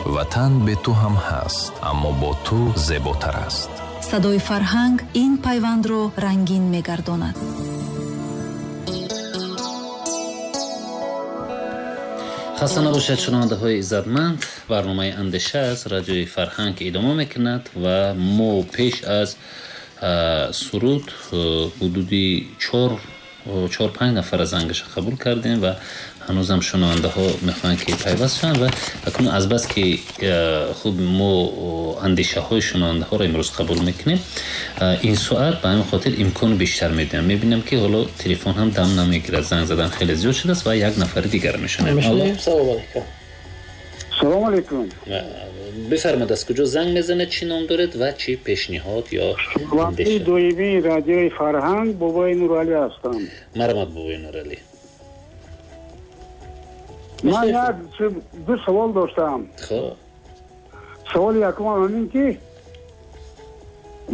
Ватан бе ту ҳам ҳаст, аммо бо ту зеботар аст. Садои фарҳанг ин пайвандро рангин мегардонад. Хаста набошад, шунавандаҳои иззатманд. Барномаи андеша аз радиои фарҳанг идома мекунад ва мо пеш аз суруд ҳудуди чор-панҷ нафара зангаша қабул кардем ва ҳанӯзам шунавандаҳо мехоҳанд ки пайваст шаванд ва акнун азбаски хуб мо андешаҳои шунавандаҳоро имрӯз қабул мекунем, ин соат ба ҳамин хотир имкон бештар медиҳам. Мебинам ки ҳоло телефон ҳам дам намегирад, занг задан хеле зиёд шудааст ва як нафари дигар мешунавем. Салом алейкум. Салом алейкум. Бифармоед, аз куҷо занг мезанед, чӣ ном доред ва чӣ пешниҳод ё андеша? Доимии радиои фарҳанг Бобои Нуралӣ ҳастам. Марҳамат, Бобои Нуралӣ. Ман як ду савол доштам. Хуб. Саволи якумам ҳамин ки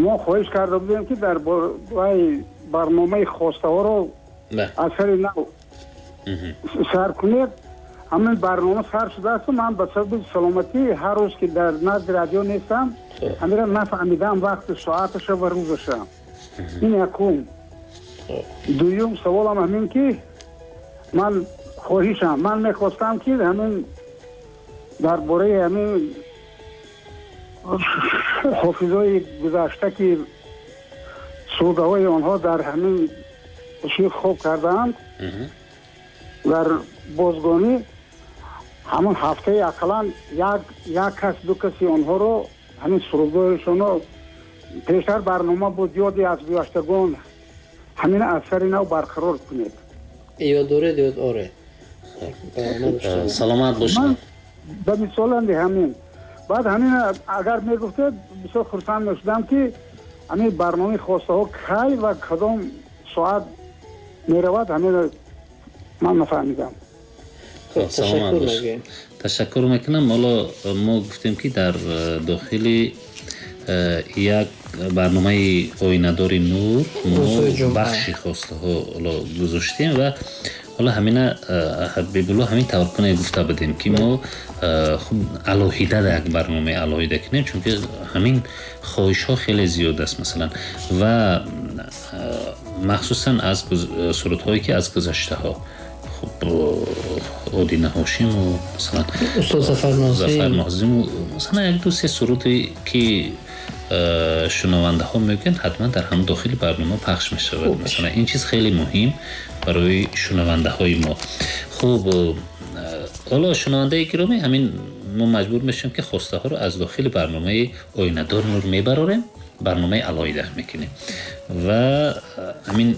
мо хоҳиш карда будем ки дар бораи барномаи хостаҳоро аз сари нав сар кунед. Ҳамин барнома сар шудааст, ман ба сабаби саломатӣ ҳар рӯз ки дар назди радио нестам, ҳамира нафаҳмидам вақти соаташа ва рӯзаша. Ин якум. Дуюм саволам ҳамин ки ман хоҳишам, ман мехостам ки ҳамин дар бораи ҳамин ҳофизҳои гузашта ки сурудҳои онҳо дар ҳамин шир хоб кардаанд дар бозгонӣ, ҳамон ҳафтаи ақаллан як кас ду каси онҳоро ҳамин сурудҳояшонро пештар барнома буд ёди аз гузаштагон, ҳамин аз сари нав барқарор кунед. Ёд доред, ёд оред. Саломат бошед. Ба мисоланди ҳамин. Баъд ҳамин агар мегуфтед бисёр хурсанд мешудам ки ҳамин барномаи хостаҳо кай ва кадом соат меравад, ҳамин ман нафаҳмидам. Саломат бошед. Ташаккур мекунам. Ҳоло мо гуфтем ки дар дохили як барномаи оинадори нур мо бахши хостаҳо ҳоло гузоштем ва ҳоло ҳамина Ҳабибулло ҳамин тавр кунед гуфта будем ки мо хуб алоҳида як барномаи алоҳида кунем, чунки ҳамин хоҳишҳо хеле зиёд аст масалан ва махсусан аз сурудҳое ки аз гузаштаҳо хуб Одина Ҳошиму масалан устод Зафар Нозиму масалан як ду се суруде ки шунавандаҳо мегӯянд ҳатман дар ҳам дохили барнома пахш мешавад. Масалан ин чиз хеле муҳим барои шунавандаҳои мо. Хуб, ҳоло шунавандаи гиромӣ, ҳамин мо маҷбур мешавем ки хостаҳоро аз дохили барномаи оинадор нур мебарорем, барномаи алоҳида мекунем ва ҳамин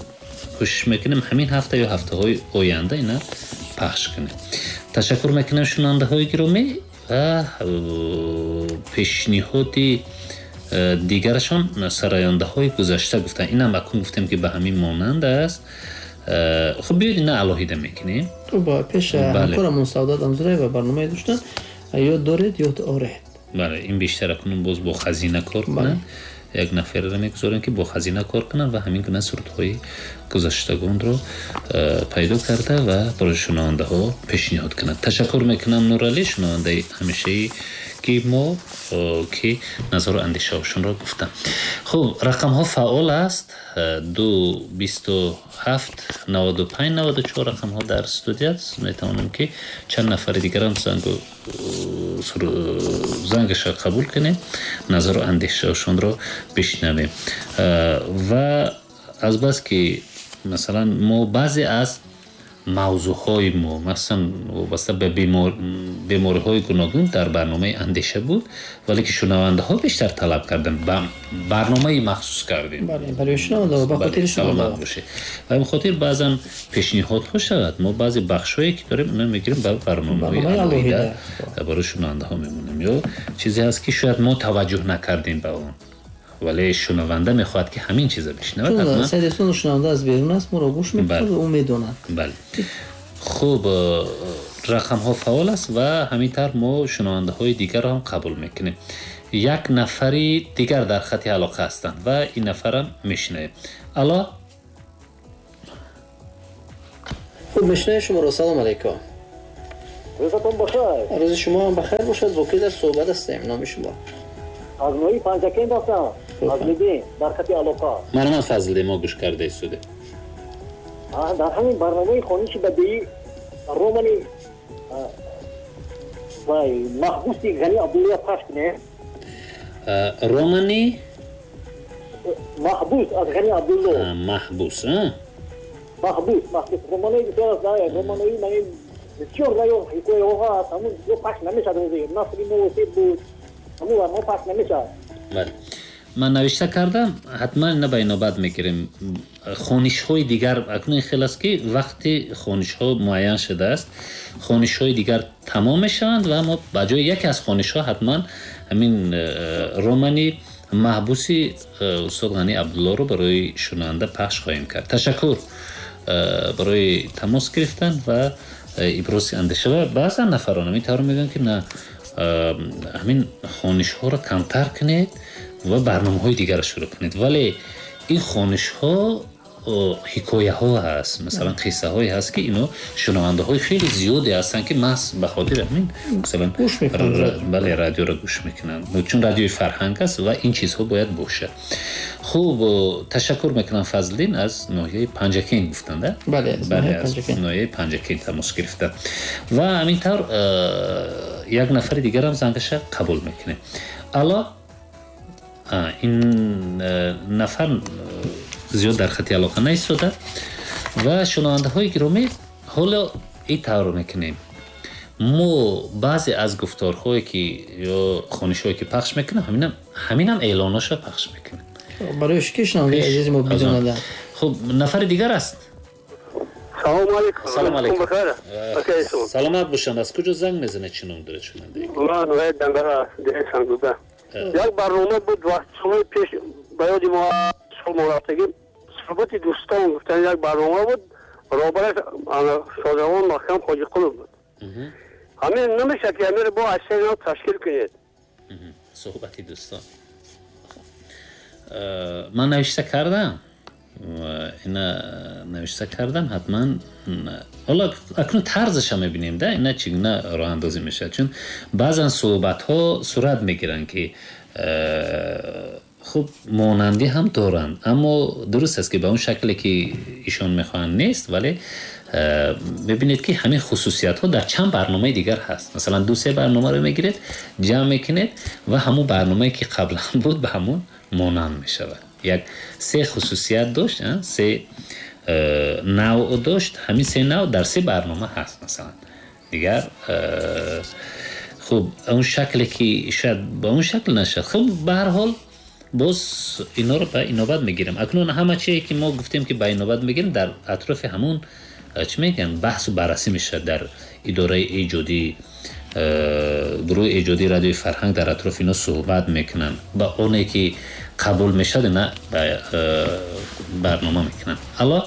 кӯшиш мекунем ҳамин ҳафта ё ҳафтаҳои оянда ина пахш кунем. Ташаккур мекунам шунавандаҳои гиромӣ ва пешниҳоди дигарашон сарояндаҳои гузашта гуфтанд. Инам акун гуфтем ки ба ҳамин монанд аст. Хуб, биёед ина алоҳида мекунем. Пеш ҳамкорамон Саодат Амзураева барномае доштанд, ёд доред, ёд оред. Бале, ин бештар акунун боз бо хазина кор кунанд. Як нафарро мегузорем ки бо хазина кор кунанд ва ҳамин гуна сурудҳои гузаштагонро пайдо карда ва барои шунавандаҳо пешниҳод кунанд. Ташаккур мекунам Нуралӣ, шунавандаи ҳамешаи ки мо ки назару андешаҳошонро гуфтам. Хуб, рақамҳо фаъол аст. 2 27 95 94 рақамҳо дар студия аст. Метавонем ки чанд нафари дигарам зангаша қабул кунем, назару андешаҳошонро бишнавем. Ва азбаски масалан мо баъзе аз мавзӯъҳои мо масалан вобаста ба бемориҳои гуногун дар барномаи андеша буд, вале ки шунавандаҳо бештар талаб карданд, ба барномаи махсус кардем. Барои шунавандаҳо, ба хотири шунавандаҳо. Ба ин хотир баъзан пешниҳодҳо шавад, мо баъзе бахшҳое ки дорем, онҳо мегирем ба барномаҳои алоҳида барои шунавандаҳо мемонем. Ё чизе ҳаст ки шояд мо таваҷҷӯҳ накардем ба он, вале шунаванда мехоҳад ки ҳамин чиза бишнавад. Чун Сайдистон шунаванда аз берун аст, моро гӯш мекунад ва ӯ медонад. Бале. Хуб, рақамҳо фаъол аст ва ҳамин тавр мо шунавандаҳои дигарро ҳам қабул мекунем. Як нафари дигар дар хати алоқа ҳастанд ва ин нафарам мешунавем. Алло. Хуб, мешунавем шуморо. Салом алейкум. Рӯзатон бахайр. Рӯзи шумо ҳам бахайр бошад. Бо ки дар суҳбат ҳастем? Номи шумо? Аз ноҳияи Панҷакент ҳастам. Фазлиддин, дар хати алоқа. Марҳамат Фазлиддин, мо гӯш карда истодем. Дар ҳамин барномаи хониши бадеӣ романи вай маҳбуси Ғани Абдуллоя пахш кунем. Романи маҳбус аз Ғани Абдулло. Маҳбус, маҳбус, маҳбус. Романои бисёр аст, романои ман бисёр наё ҳикояҳо ҳаст, ҳамун пахш намешад. Насри мувосиб буд, ҳамун барнома пахш намешад. Бале, ман навишта кардам, ҳатман ина ба инобат мегирем. Хонишҳои дигар акнун хел аст ки вақти хонишҳо муайян шудааст, хонишҳои дигар тамом мешаванд ва мо ба ҷои яке аз хонишҳо ҳатман ҳамин романи маҳбуси устод Ғани Абдуллоро барои шунаванда пахш хоҳем кард. Ташаккур барои тамос гирифтан ва ибрози андеша. Ва баъзан нафарон ҳамин тавр мегӯянд ки на, ҳамин хонишҳоро камтар кунед ва барномаҳои дигарро шурӯъ кунед. Вале ин хонишҳо ҳикояҳо ҳаст, масалан қиссаҳое ҳаст ки ино шунавандаҳои хеле зиёде ҳастанд ки маҳз ба хотири ҳамин масалан бале радиоро гӯш мекунанд, чун радиои фарҳанг аст ва ин чизҳо бояд бошад. Хуб, ташаккур мекунам Фазлиддин аз ноҳияи Панҷакент гуфтанд, бале, аз ноҳияи Панҷакент тамос гирифтанд. Ва ҳамин тавр як нафари дигарам зангаша қабул мекунем. Алло, ин нафар зиёд дар хати алоқа наистода. Ва шунавандаҳои гиромӣ, ҳоло ин тавр мекунем. Мо баъзе аз гуфторҳое ки ё хонишҳое ки пахш мекунем, ҳаминам эълоношро пахш мекунем барои ки шунавандаи азизи мо бидонанд. Хуб, нафари дигар аст. Салом алейкум. Салом алейкум. Саломат бошанд. Аз куҷо занг мезанед? Чӣ ном доред шунавандаи? Ман ноҳияи Дангара, деҳаи Сангдуда. Як барнома буд вақт солҳои пеш, ба ёди мо сол мо рафтагӣ, суҳбати дӯстон гуфтан як барнома буд, роҳбараш Шодравон Маҳкам Хоҷиқулов буд. Ҳамин намешавад ки ҳаминро бо аз сари нав ташкил кунед. Суҳбати дӯстон. Ман навишта кардам, ина навишта кардам, ҳатман ҳоло акнун тарзаша мебинем, да ина чӣ гуна роҳандозӣ мешавад, чун баъзан суҳбатҳо сурат мегиранд ки хуб монандӣ ҳам доранд, аммо дуруст аст ки ба он шакле ки ишон мехоҳанд нест, вале мебинед ки ҳамин хусусиятҳо дар чанд барномаи дигар ҳаст. Масалан ду-се барномаро мегиред, ҷамъ мекунед ва ҳамон барномае ки қаблан буд ба ҳамон монанд мешавад. Як се хусусият дошт, се навъ дошт, ҳамин се навъ дар се барнома ҳаст. Масалан дигар хуб он шакле ки шояд ба он шакл нашад. Хуб, ба ҳар ҳол боз инҳоро ба инобат мегирем. Акнун ҳама чие ки мо гуфтем ки ба инобат мегирем, дар атрофи ҳамон чӣ мегӯянд баҳсу баррасӣ мешавад дар идораи эҷодӣ, гурӯҳи эҷодии радиои фарҳанг дар атрофи ино суҳбат мекунанд. Ба оне ки қабул мешавад ина ба барнома мекунанд. Алло,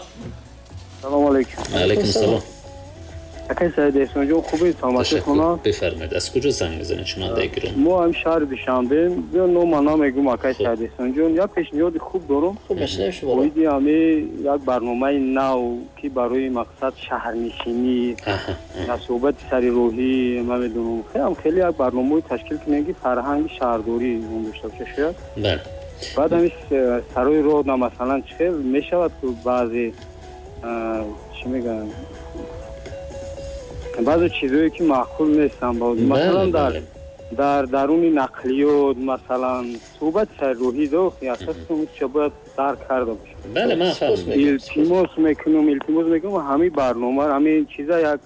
салом алейкум. Алейкум салом. Акай Саид Эҳсонҷон, хубед? Саломатӣ хона? Бифармоед, аз куҷо занг мезанед шунавандаи гиромӣ? Мо ҳам шаҳри Душанбе. Нома намегӯм акай Саид Эҳсонҷон, як пешниҳоди хуб дорам. Хуб, мешунавем шуморо. Оиди ҳами як барномаи нав ки барои мақсад шаҳрнишинӣ, суҳбати сари роҳӣ, намедонам, хеле хеле як барномаҳои ташкил кунем ки фарҳанги шаҳрдорӣ он дошта бошад шояд. Бале. Баъд ҳами сарои роҳ на масалан чӣ хел мешавад ки баъзе чӣ мегӯянд, баъзе чизҳое ки маъқул нестанд, масалан дар даруни нақлиёт, масалан суҳбати сари роҳӣ асосан чӣ бояд дарк карда бошад. Бале, ман фаҳмидам. Илтимос мекунам ҳамин барнома, ҳамин чиза як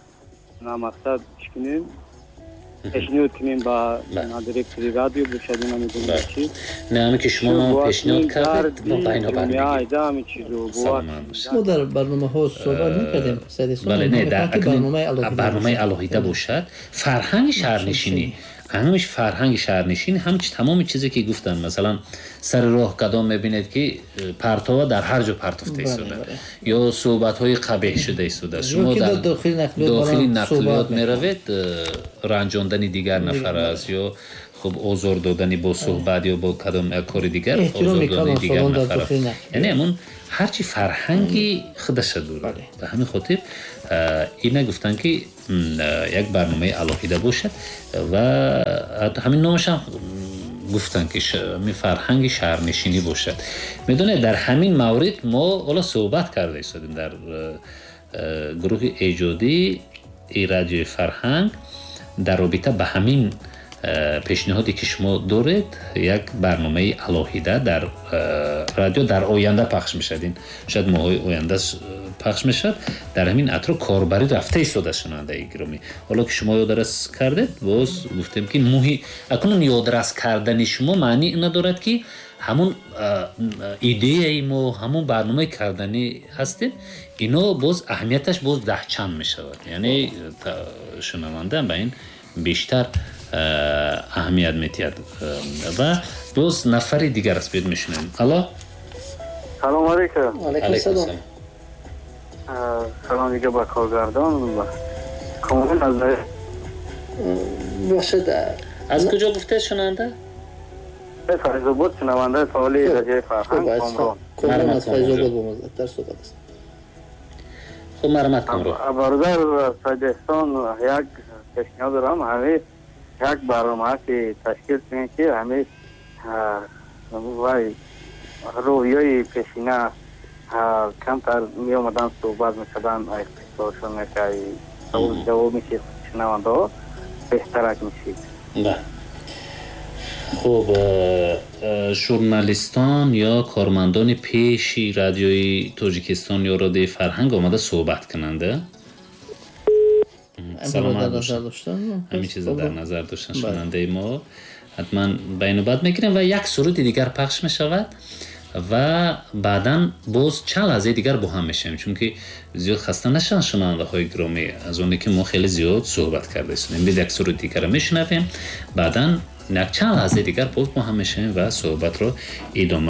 мақсад чӣ кунем, пешниҳод кунем ба директори радио бошад, намедонам чӣ. Не, ҳамин ки шумо мо пешниҳод кардед, мо ба инобат мегирем. Ҳамин чизо мо дар барномаҳо суҳбат мекардем. Бале, не, дар барномаи алоҳида бошад. Фарҳанги шаҳрнишинӣ, ҳамиш фарҳанги шаҳрнишинӣ, ҳамч тамоми чизе ки гуфтанд, масалан сари роҳ кадом мебинед ки партова дар ҳар ҷо партофта истода ё суҳбатҳои қабеҳ шуда истода. Шумо дар дохили нақлиёт меравед, ранҷондани дигар нафар аст ё Хуб, озор додани бо суҳбат ё бо кадом як кори дигар озор додани дигар нафар, яъне ҳамун ҳарчи фарҳанги худаша дорад. Ба ҳамин хотир ина гуфтанд, ки як барномаи алоҳида бошад ва ҳамин номашам гуфтанд, ки фарҳанги шаҳрнишинӣ бошад. Медонед, дар ҳамин маврид мо ҳоло суҳбат карда истодем дар гурӯҳи эҷодии Радиои Фарҳанг. Дар робита ба ҳамин пешниҳоде, ки шумо доред, як барномаи алоҳида дар радио дар оянда пахш мешавад. Ин шояд моҳҳои оянда пахш мешавад. Дар ҳамин атроф корбарӣ рафта истода. Шунавандаи гиромӣ, ҳоло ки шумо ёдрас кардед, боз гуфтем, ки муҳи акнун ёдрас кардани шумо маъни ина дорад, ки ҳамун идеяи мо, ҳамун барномаи карданӣ ҳастем, ино боз аҳамияташ боз даҳчанд мешавад, яъне шунаванда ба ин бештар аҳамият медиҳад. Ва боз нафари дигар аст, биёд мешунавем. Алло. Салом алейкум. Алейкум салом. Салом дига ба коргардон комил аз Бошад. Аз куҷо гуфтед, шунаванда? Файзобод, шунавандаи фаъоли Радиои Фарҳанг. Комрон аз Файзобод бо мо дар суҳбат аст. Хуб, марҳамат, Комрон. Бародар Саидеҳсон, як пешниҳод дорам. Ҳамин як барнома ки ташкил кунем, ки ҳамин вай рӯҳиёи пешина камтар меомадан, суҳбат мекардан, қиссаҳошон, савол ҷавоб мешид, шунавандаҳо беҳтарак мешид. Хуб, журналистон ё кормандони пеши Радиои Тоҷикистон ё Радиои Фарҳанг омада суҳбат кунанда. Саломат бошад, ҳамин чиза дар назар доштан шунавандаи мо. Ҳатман ба инобат мегирем ва як суруди дигар пахш мешавад ва баъдан боз чанд лаҳзаи дигар бо ҳам мешавем, чунки зиёд хаста нашаванд шунавандаҳои гиромӣ аз оне, ки мо хеле зиёд суҳбат карда истодем. Бид як суруди дигарро мешунавем, баъдан як чанд лаҳзаи дигар боз бо ҳам мешавем ва суҳбатро идома.